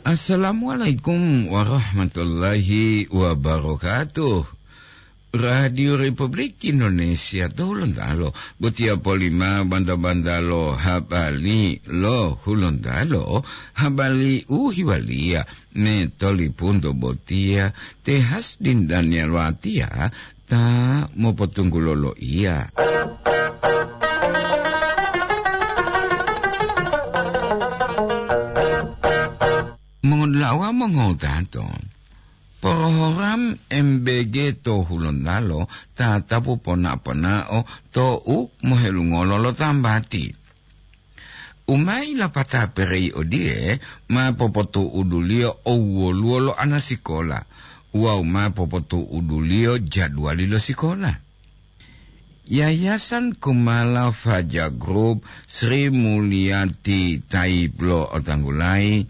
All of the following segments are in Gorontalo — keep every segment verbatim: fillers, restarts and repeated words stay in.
Assalamualaikum warahmatullahi wabarakatuh. Radio Republik Indonesia to Hulontalo, botiya polima banta-banta lo habari lo Hulontalo, habari u hiwaliya me tolipunto botiya te Hasdin Daniel Watiya ta mopotunggulo loiya. Mongodula'a mongowutato, program M B G to Hulontalo tatapu pona-ponao to u mohelungolo lo tambati. U ma ilapata perei odiye ma popotu'uduliyo owoluwo lo anasikola wawu ma popotu'uduliyo jadwali lo sikola. Yayasan Kumala Faja Group Sri Mulyati Taib lo Otanggulai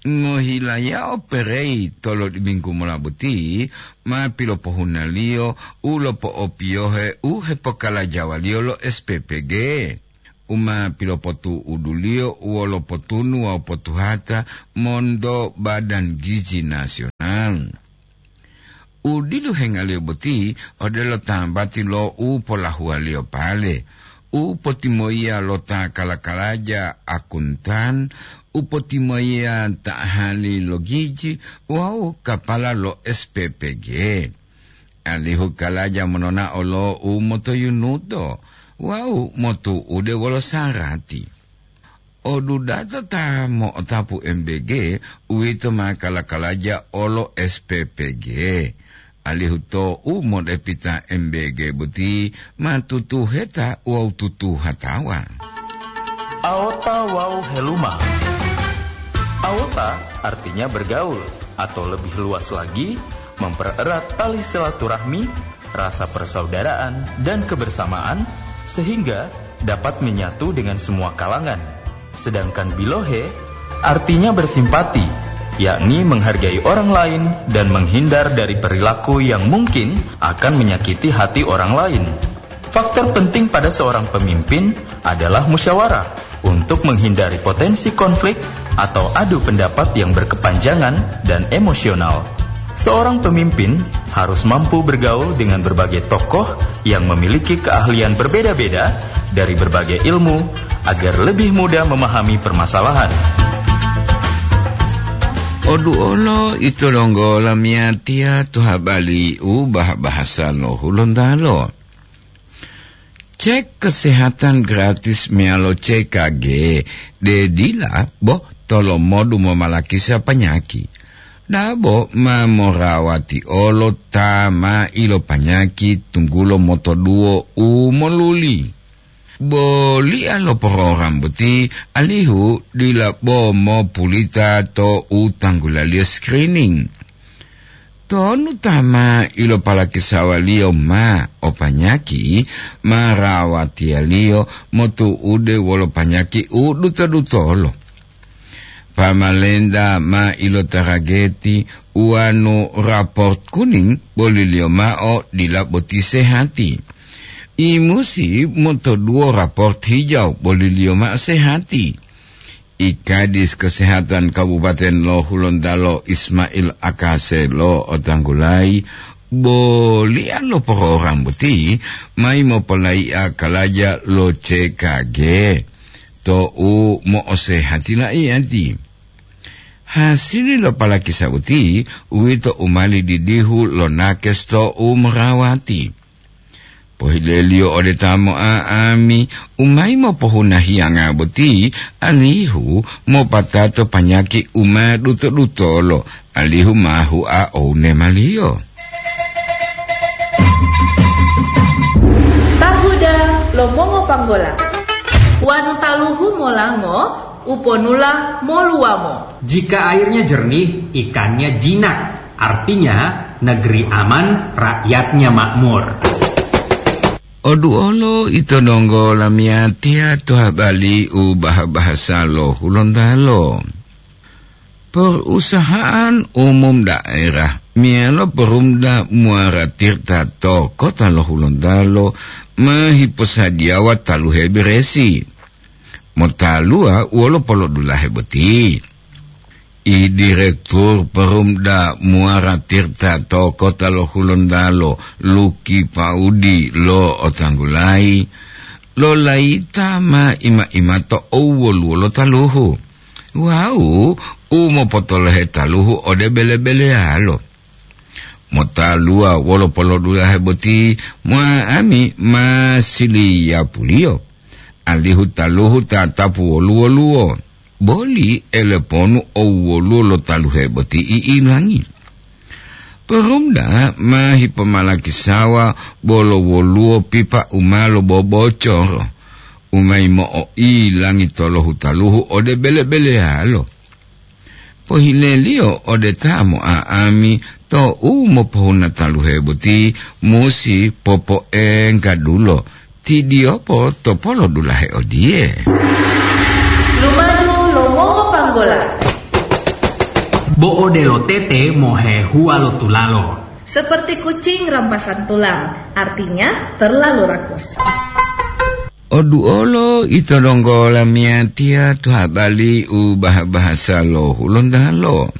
ngohilayao perei tolodiminggu mola boti ma pilopohunaliyo u lopo'opiyohe u hepokalajawaliyo lo S P P G. U ma pilopotu'uduliyo wolo potunu wawu potuhata monto Badan Gizi Nasional. U dilu hengaliyo boti odelo tambati lo u polahuwaliyo pale, u potimoyiya lo ta kala-kalaja akuntan, u potimoyiya ta ahali lo gizi wawu kapala lo S P P G. Alihu kalaja mononao lo u motoyunuto wawu motu'ude wolo sarati. Odudata ta mo'otapu M B G, uwito ma kala-kalaja olo S P P G. Alihu to u modepita M B G boti ma tutuheta wawu tutuhatawa. Aota wawu heluma. Aota artinya bergaul, atau lebih luas lagi, mempererat tali silaturahmi, rasa persaudaraan, dan kebersamaan, sehingga dapat menyatu dengan semua kalangan. Sedangkan bilohe artinya bersimpati, yakni menghargai orang lain dan menghindar dari perilaku yang mungkin akan menyakiti hati orang lain. Faktor penting pada seorang pemimpin adalah musyawarah untuk menghindari potensi konflik atau adu pendapat yang berkepanjangan dan emosional. Seorang pemimpin harus mampu bergaul dengan berbagai tokoh yang memiliki keahlian berbeda-beda dari berbagai ilmu agar lebih mudah memahami permasalahan. Oduolo ito donggo lamiyatiya to habari u bah-bahasa lo Hulontalo. Cek kesehatan gratis meyalo C K G de dila bo tolomodu momalakisa panyaki. Dabo ma morawati olo ta ma ilopanyaki tunggulo motoduwo u moluli. Bolia lo program boti alihu dila bo mopulita to u tanggulaliyo screening. Tonu ta ma ilopalakisawaliyo ma o panyaki, ma rawatiyaliyo motu'ude wolo panyaki u duto-dutolo. Pamalenta ma ilotarageti uwanu raport kuning boliliyo ma'o dila boti sehati. Imusi motoduwo raport hijau boliliyo ma'o sehati. I Kadis Kesehatan Kabupaten lo Hulontalo Ismail Akase lo otanggulayi, bolian lo program boti mayi mopolayi'a kalaja lo C K G to u mo'osehati la'iyati. Hasili lo palakisa boti, uwito u mali didihu lo nakes to u morawati. Pohileliyo ode ta mo'a'ami u mayi mopohuna hiyanga boti, alihu mopatato panyaki u ma duto-dutolo, alihu ma hua oune maliyo. Tahuda lo mongopanggola. Wanu taluhu molango, uponula moluwamo. Jika airnya jernih, ikannya jinak. Artinya, negeri aman, rakyatnya makmur. Oduolo ito donggo lamiyatiya to habari u bah-bahasa lo Hulontalo. Perusahaan umum daerah meyalo Perumda Muara Tirta to kota lo Hulontalo ma hiposadiyawa taluhe beresi. Motaluwa wolo polodulahe boti. I Direktur Perumda Muara Tirta to kota lo Hulontalo, Luki Paudi lo otanggulayi, lolaita ma ima-ima to owoluwo lo taluhu, wawu u mopotolohe taluhu ode bele-beleyalo. Motaluwa wolo polodulahe boti, mo'a'ami ma siliyapuliyo, alihu taluhu tatapu woluwo-luwo, boli eleponu owoluwo lo taluhe boti i'ilangi. Perumda ma hipomalakisawa bolo woluwo pipa u ma lobobocoro, u ma yimo'o'ilangi to lohutaluhu ode bele-beleyalo. Pohileliyo ode ta mo'a'ami to u mopohuna taluhe boti musi popoenggadulo, tidiyopo to polodulahe odiye. Lumadu lo mongopanggola. Bo odelo tete mohehuwa lo tulalo. Seperti kucing rampasan tulang, artinya terlalu rakus. Oduolo ito donggo lamiyatiya to habali u baha-bahasa lo Hulontalo.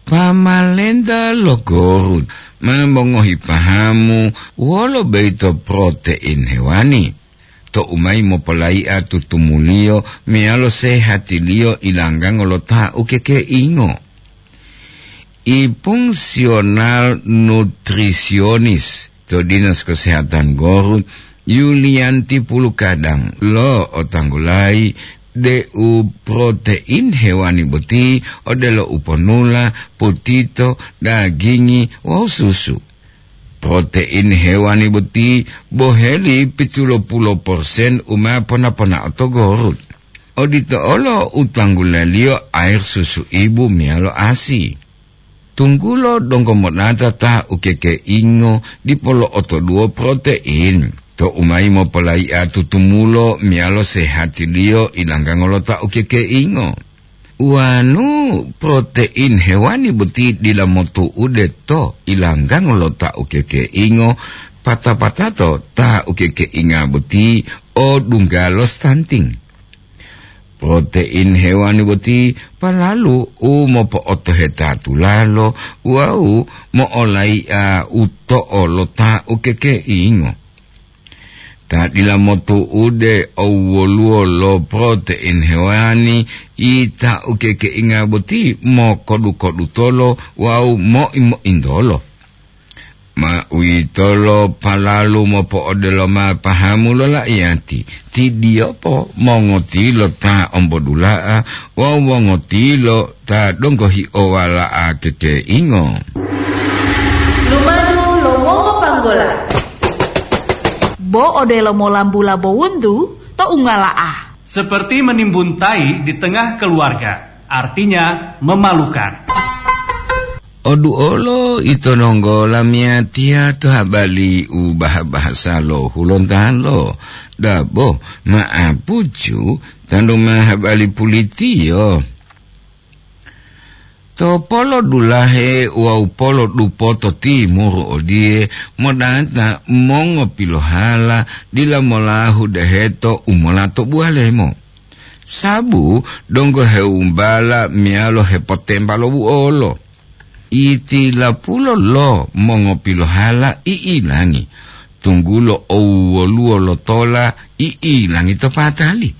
Pamalenta lo Gorut ma mongohi pahamu wolo boyito protein hewani, to u mayi mopolai'a tutumuliyo meyalo sehatiliyo ilanggango lo ta ukekeingo. I fungsional nutrisionis to Dinas Kesehatan Gorut, Yulianti Pulukadang lo otanggulayi deu protein hewani boti odelo u ponula, putito, dagingi wawu susu. Protein hewani boti boheli pitulo pulo persen u ma pona-ponao to Gorut. Odito olo u tanggulaliyo air susu ibu meyalo asi. Tunggulo donggo monata ta ukekeingo dipo lo'otoduwo protein, to u mayi mopolai'a tutumulo meyalo sehatiliyo ilanggango lo ta ukekeingo. Wanu protein hewani boti dila motu'ude to ilanggango lo ta ukekeingo, pata-patato ta ukekeinga boti o dungga lo stunting. Protein hewani boti palalu u mopo'otoheta tulalo wawu mo'olai'a uto'o lo ta ukekeingo. Ta dila motu'ude owoluwo lo protein hewani, ita ukekeinga boti mokodu-kodutolo wawu moi-mointolo. Ma uwitolo palalu mopo'odelo ma pahamu lo la'iyati, tidiyopo mongotilo ta ombodula'a wawu mongotilo ta donggo hi'owala'a kekeingo. Lumadu lo mongopanggola. Bo odelo molambula bowuntu to ungala'a. Seperti menimbun tai di tengah keluarga, artinya memalukan. Oduolo ito nonggo lamiyatiya to habali u baha-bahasa lo Hulontalo. Dabo ma'apucu tantu ma habali pulitiyo. To polodulahe wawu polodupoto timuru odiye, modata mongopilohala dila molahu deheto u molato buwalemo. Sabu donggo hewumbala meyalo hepotemba lo buolo. Itilapulo lo mongopilohala i'ilangi, tunggulo owoluwo lo tola i'ilangi to patali.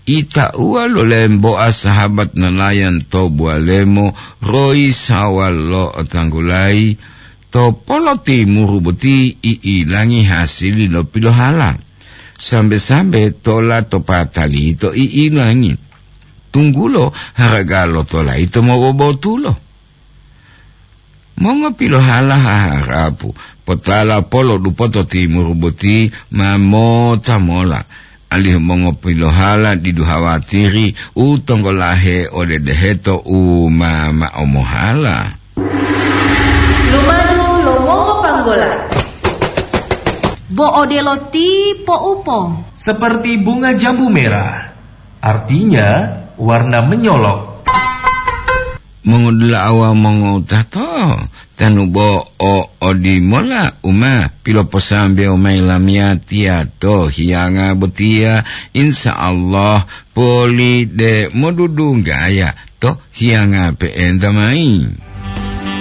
Itauwa lo lemboa sahabat nelayan to buwalemo royi sawal lo otanggulayi, to polotimuru boti i'ilangi hasili lo pilohala. Sambe-sambe tola to patali yito i'ilangi, tunggulo haraga lo tola yito mobobotulo. Mongopilohala haharapu, potala polo dupoto timuru boti ma mota mola, alihu mongopilohala didu hawatiri u tonggolahe ode deheto u ma ma'o mohala. Lumadu lo mongopanggola. Bo odelo ti poupo. Seperti bunga jambu merah, artinya warna menyolok. Mongodula'a wawu mongowutato, tanu bo o odimola u ma piloposambewo mayi lamiyatiya to hiyanga botiya, insya Allah poli de modudunggaya to hiyanga pe'enta mayi.